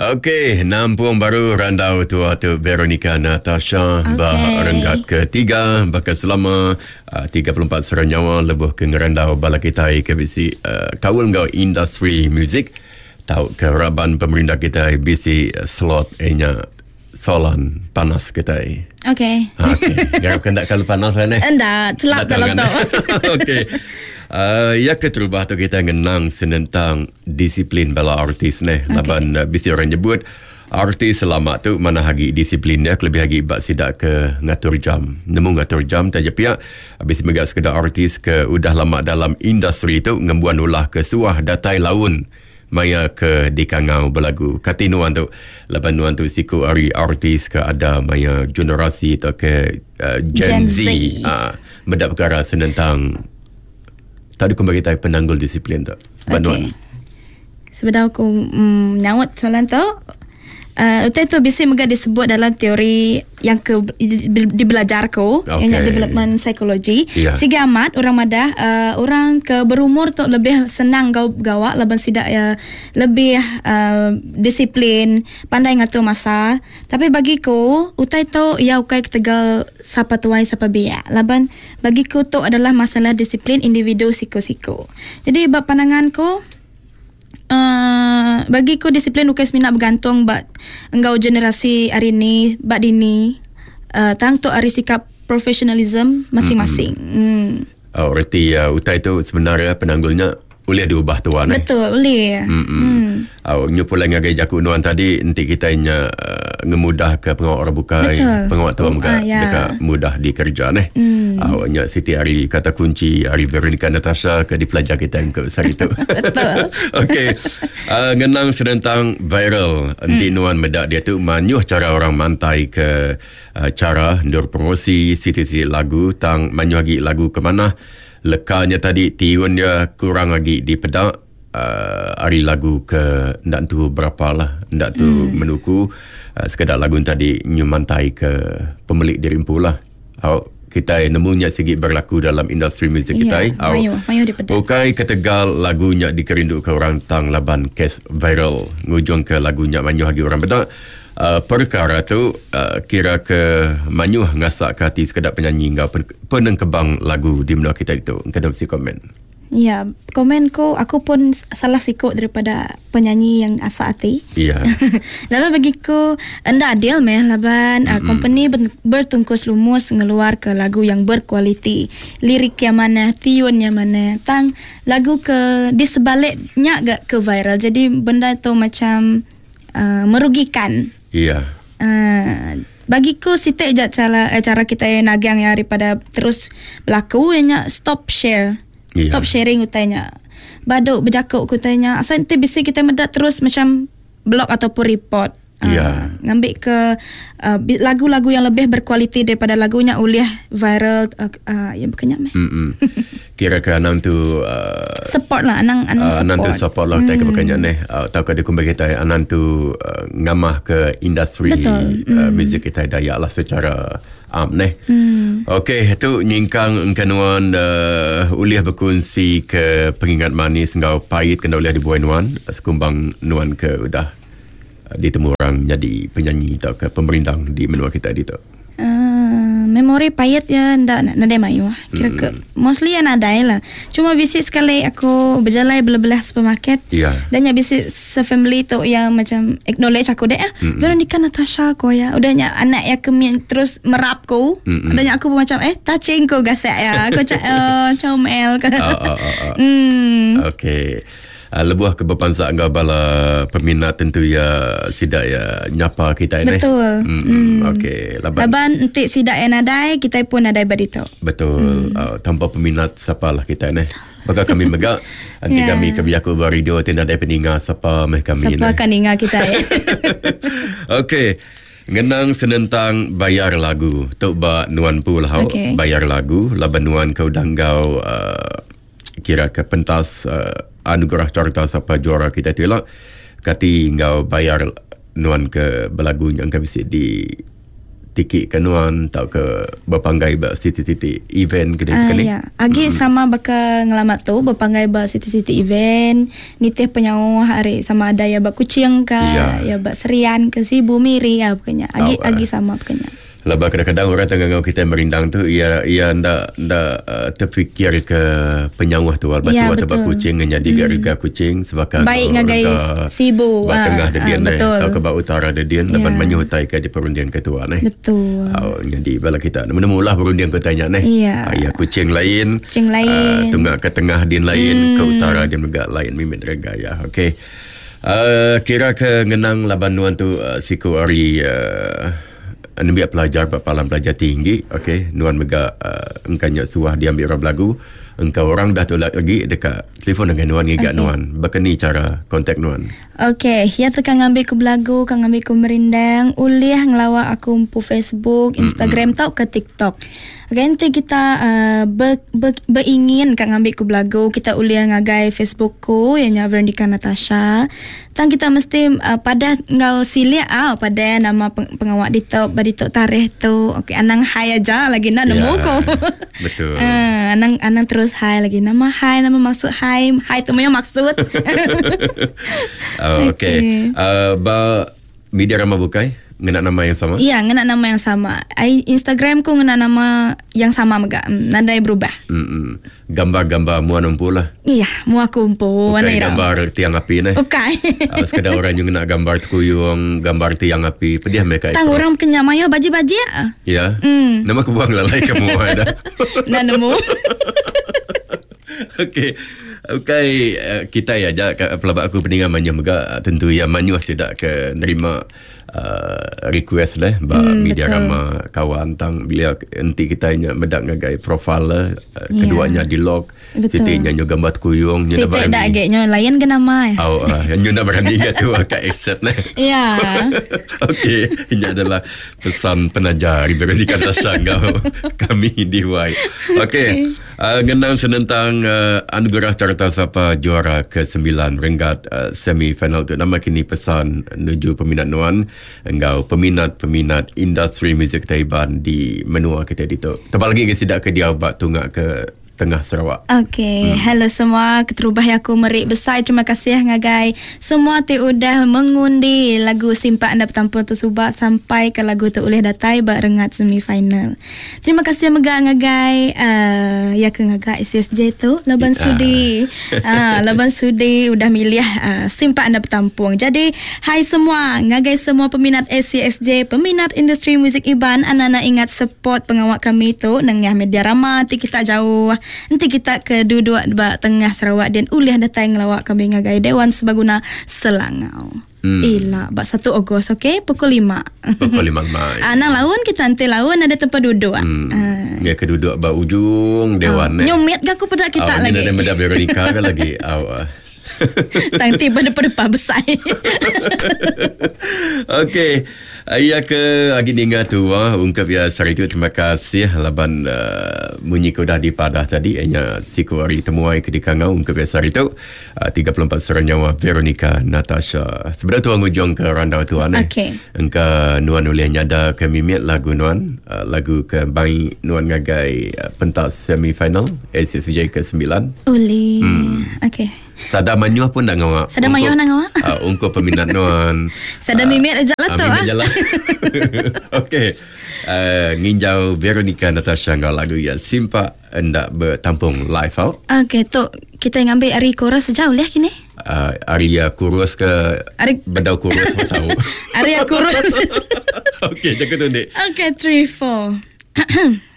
Okey, nampung baru randau tua tu Veronica Natasha okay. ba renggat ketiga baka selama uh, 34 sera nyawa lebuh ke ngerandau bala kitai ke bisi uh, kaul enggau industri muzik tau ke raban pemerintah kitai bisi slot nya soalan panas kitai. Okey. Okey. Garap ke ndak kalau panas lah ni. Enda, celap dalam tu. Okey. Uh, ya keterubah tu kita ngenang senentang disiplin bala artis neh. Okay. Laban uh, bisi orang nyebut artis selama tu mana agi disiplinnya kelebih agi bak sida ke ngatur jam. Nemu ngatur jam taja pia bisi mega sekeda artis ke udah lama dalam industri tu ngembuan ulah ke suah datai laun maya ke dikangau belagu. Kati nuan tu laban nuan tu siku ari artis ke ada maya generasi atau ke uh, Gen, Gen Z, Z. Uh, meda perkara senentang tadi ku bagi tai penanggul disiplin tu. Ba okay. nuan. Sebedau aku mm, nyaut soalan tu, Uh, utai tu bisi mega disebut dalam teori yang ke dibelajar ku okay. yang development psychology. Yeah. Siga amat orang madah uh, orang ke berumur tu lebih senang gau gawa laban sida ya lebih uh, disiplin, pandai ngatur masa. Tapi bagi ku utai tu ya ukai ketegal sapa tuai sapa biak. Laban bagi ku tu adalah masalah disiplin individu siku-siku. Jadi ba pandangan ku Uh, bagi ku disiplin ukai semina bergantung ba enggau generasi hari ni ba dini uh, tang tu ari sikap professionalism masing-masing. Mm. Mm. Oh, reti uh, utai tu sebenarnya penanggulnya boleh diubah tuan eh. Betul, boleh. Mm. Mm. Oh, nyu pulai ngagai jaku nuan tadi enti kita nya uh, ngemudah ke pengawa orang bukai, pengawa tua mega uh, ya. deka mudah dikerja neh. Mm. Uh, nya siti ari kata kunci ari Veronica Natasha ke dipelajar kita ke sehari tu. Betul. Okey. Uh, ngenang senentang viral enti mm. nuan meda dia tu manyuh cara orang mantai ke uh, cara ndur promosi siti-siti lagu tang manyuh agi lagu ke manah leka nya tadi tiun dia kurang agi dipeda uh, ari lagu ke enda entu berapa lah enda tu mm. menuku uh, sekeda lagu tadi nyu mantai ke pemilik diri empu lah. Au kitai nemu nya sigi berlaku dalam industri muzik kitai. Yeah, Au mayuh, mayuh dipeda. Ukai ketegal lagu nya dikerindu ke orang tang laban kes viral ngujung ke lagu nya mayuh agi orang peda. Uh, perkara tu uh, kira ke mayuh ngasak ke ati sekeda penyanyi enggau penengkebang lagu di menua kita ditu. Engka dah bisi komen. Ya, komen ku aku pun salah siku daripada penyanyi yang asa ati. Ya. Laban bagiku enda adil meh laban mm-hmm. uh, company bertungkus lumus ngeluar ke lagu yang berkualiti, lirik yang mana, tiun yang mana. Tang lagu ke di sebaliknya ga ke viral. Jadi benda tu macam uh, merugikan. Ya. Uh, bagiku siti aja cara eh, cara kita nagang ya daripada terus berlaku ianya stop share. Yeah. Stop sharing utainya. Baduk berjakuk ku utainya. Asal nanti bisi kita medak terus macam blog ataupun report. Yeah. Uh, ngambil ke uh, lagu-lagu yang lebih berkualiti daripada lagunya ulih viral uh, uh, ya bukannya meh. Mm-mm. Kira ke anang tu uh, support lah anang anang uh, support. Anang tu support lah mm. ke neh. Uh, tau ke dikumbai kita anang tu uh, ngamah ke industri Betul. Uh, mm. muzik kita Dayak lah secara am neh. Mm. Okey, tu nyingkang engkanuan uh, ulih berkongsi ke pengingat manis enggau pahit kena ulih dibuai nuan sekumbang nuan ke udah ditemu orang jadi penyanyi atau ke pemerindang di menua kita ditu. Uh, memori pahit ya ndak nadai mayuh. Kira ke mm. mostly ya nadai lah. Cuma bisi sekali aku berjalan belah-belah supermarket. Yeah. Dan ya bisi se-family tu yang macam acknowledge aku deh. Mm-hmm. Veronica Natasha ko ya. Udah nya anak ya kemi terus merap ku. Mm-hmm. Udah nya aku pun macam eh touching ko gasek ya. Aku cak uh, comel. Oh, oh, oh, oh. Mm. Okey. Uh, lebuh ke berpansak enggau bala peminat tentu ya sidak ya nyapa kita ini. Betul. Mm, mm. Okey, laban Laban enti sidak yang nadai, kita pun nadai baditu. Betul. Mm. Uh, tanpa peminat siapalah kita ni. Baka kami mega enti Yeah. kami ke bejaku ba radio ti nadai peninga sapa meh kami Siapa ni. akan ninga kita ya. Okey. Ngenang senentang bayar lagu. Tu ba nuan pu lah Okey. bayar lagu laban nuan ke udah enggau uh, kira ke pentas uh, anugerah carta sapa juara kita tu lah. Kati enggau bayar nuan ke belagu yang ke bisi di tiki ke nuan tauka bepanggai ba siti-siti event ke uh, ni? Ya. Agi mm. sama baka ngelama tu bepanggai ba siti-siti event nitih penyauh hari sama ada ya ba Kuching ke ya, ya ba Serian ke Sibu Miri ya pokoknya. Agi oh, agi sama pokoknya. Laban kadang-kadang orang tengah ngau kita merindang tu ia ia nda nda uh, terfikir ke penyauh tu batu ya, atau bak kucing jadi mm. rega kucing sebaka baik ngagai Sibu ba tengah de dian eh atau ke ba utara de dian laban mayuh utai ke diperunding ke tuan eh. Betul. Oh, jadi bala kita nemu lah berunding ke tanya neh. Ya. Ya kucing lain. Kucing lain. Uh, tunggak ke tengah din lain, ke utara din mega lain mimit rega ya. Okey. Uh, kira ke ngenang laban nuan tu uh, siku ari uh, nembiak pelajar ba palan pelajar tinggi okey nuan mega uh, engka nya suah diambil orang belagu engka orang dah tu lagi deka telefon dengan nuan ngiga okay. nuan baka ni cara kontak nuan Okey, ya teka ngambil ku belagu, ka ngambil ku merindang, ulih ngelawa aku empu Facebook, Instagram mm-hmm. tau ke TikTok. Okey, nanti kita uh, ber, ber, beringin ka ngambil ku belagu, kita ulih ngagai Facebook ku ianya Veronica Natasha. Tang kita mesti uh, padah enggau silik ah pada nama peng, pengawak ditu ba ditu tarikh tu. Okey, anang hai aja lagi nak nemu Ya, ku. Betul. Uh, anang anang terus hai lagi. Nama hai, nama maksud hai, hai tu punya maksud. Oh, okey. Okay. Ba media rama bukai ngena nama yang sama? Ya, ngena nama yang sama. I, Instagram ku ngena nama yang sama mega. Nadai berubah. Mm-mm. Gambar-gambar mua nempu lah. Iya, mua aku empu. Bukan gambar tiang api neh. Bukan. Sekadar orang yang ngena gambar tekuyung, gambar tiang api, pedih mereka. Tang orang kenyang mayo baji-baji. Ya. Nama aku buang lalai ke mua dah. Nah nemu. Okey. Okey, kita ya aja pelabak aku peningan manyuh mega tentu ya manyuh sida ke nerima uh, request leh ba media rama kawan tang bila enti kita nya meda ngagai profile leh uh, yeah. kedua nya di log siti nya nyu gambar tekuyung nyu berani dak ge nyu lain ke nama ya. Oh, uh, nyu nak berani ke tu ka accept leh. Ya. Okey, ini adalah pesan penajar Veronica Natasha enggau kami di Y. Okey. Ngenang senentang anugerah Carta Sapa juara ke-9 renggat semi final tu nama kini pesan nuju peminat nuan enggau peminat-peminat industri muzik kitai Iban di menua kitai ditu. Tebal agi ke sida ke diau ba tunga ke tengah Sarawak. Okey, hello semua. Keterubah iya aku meri besai terima kasih ngagai semua ti udah mengundi lagu Simpak Enda Betampung tu suba sampai ke lagu tu ulih datai ba rengat semi final. Terima kasih mega ngagai uh, ya ke ngaga SSJ tu laban yeah. sudi uh, laban sudi udah milih uh, simpak anda betampung. Jadi hai semua ngagai semua peminat ACSJ, peminat industri muzik Iban, anak-anak ingat support pengawak kami tu nengah media rama ti kita jauh. Enti kita ke duduk ba tengah Sarawak dan ulih datai ngelawak kami ngagai Dewan Sebaguna Selangau. Hmm. Ila bak 1 Ogos okey pukul 5. Pukul 5 mai. Anang laun kita nanti laun ada tempat duduk. Hmm. Ya ke duduk ba ujung dewan eh. Nyumit gak aku pada kita lagi. Ni ada meda Veronica ke lagi. Au. Tang tiba depan-depan besar. Okey. Iya ke agi ninga tu ah ungkap ya sehari tu terima kasih laban uh, munyi ke udah dipadah tadi nya siku ari temuai ke dikangau ungkap ya sehari tu. 34 sera nyawa Veronica Natasha. Sebenar tuan ngujung ke randau tuan eh. Okay. Engka nuan ulih nyada ke mimit lagu nuan, lagu ke bai nuan ngagai pentas semi final ACCJ ke 9. Uli. Okay. Sada manyuh pun dah ngawa. Sada manyuh dah ngawa. Ungkup peminat nuan. Sada mimit aja lah tu. Mimit aja lah. Okey. Nginjau Veronica Natasha enggau lagu ya Simpak Enda betampung live out. Okey, tu kita ngambil ari chorus saja ulih kini. Ari ya kurus ke ari bedau kurus pun tahu. Ari ya kurus. Okey, jaga tu dik. Okey, 3 4.